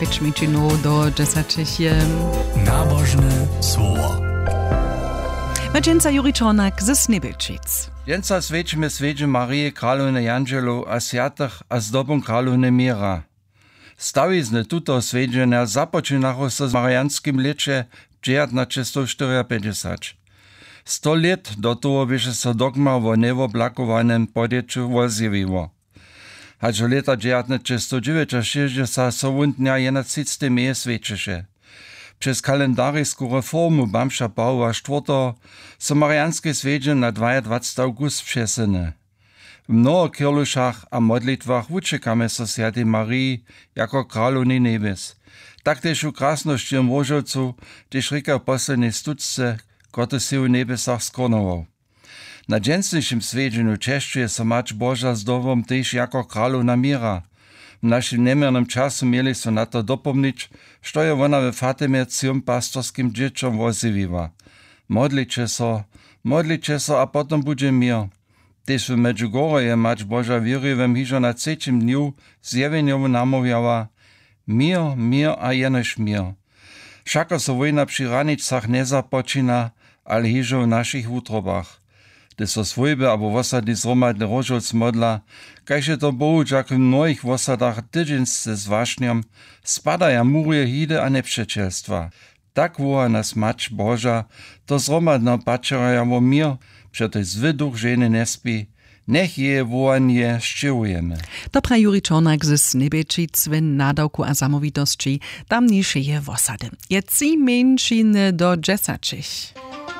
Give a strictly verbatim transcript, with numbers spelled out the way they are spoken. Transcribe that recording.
Pěć mjeńšinow do dźesaćich je. Nabožne słowo. Maćenca Juri Čornak ze Snjebjelčic. Dźensa swjećimy swjedźeń Marije, kralowne jandźelow a swjatych a zdobom kralowne měra. Stawizny tutoho swjedźenja započinachu so w marijanskim lěće dźewjatnaćestow štyriapeńdźesać. Sto lět do toho běše so dogma wo njewoblakowanym podjeću wozjewiło. Hač do lěta dźewjatnaćestowdźewjećašěsćdźesat so wón dnja jedenatřicetej meje swjećeše. Přez kalendarisku reformu bamža Pawoła štwórteho so marijanske swjedźeń na dwajadwacety awgust přesyny. W mnoho kirlušach a modlitwach wućěkamy so swjatej Mariji jako kralownej njebjes. Tak tež w krasnosćiwym Róžowcu, hdźež rěka w poslednjej stutce, kotryž sej w njebjesach skronował. Na dźensnišim swjedźenju česćuje so Mać Boža zdobom tež jako kralowna měra. W našim njeměrnym času měli so na to dopomnić, što je wona we Fatimje třěm pastorskim dźěćom wozjewiła: Modliće so, modliće so a potom budźe měr. Tež w Medjugorju je Mać Boža wěriwym hižo na třećim dnju zjewjenjow namołwjała: Měr, měr a jenož měr. Wšako so wójna při hranicach njezapočina, ale hižo w našich wutrobach. Hdyž so swójby abo wosadni zhromadnje Róžowc modla, kaž je to Bohu dźak w mnohich wosadach, tydźensce z wašnjom, spadaja murje hidy a njepřećelstwa. Tak woła nas Mać Boža do zhromadneho pačerja wo měr, přetož zły duch ženy njespi. Njech jeje wołanje sćěhujemy. To praji Juri Čornak ze Snjebjelčic w nadawku a zamołwitosći tamnišeje wosady. Je tři mjeńšiny do dźesaćich.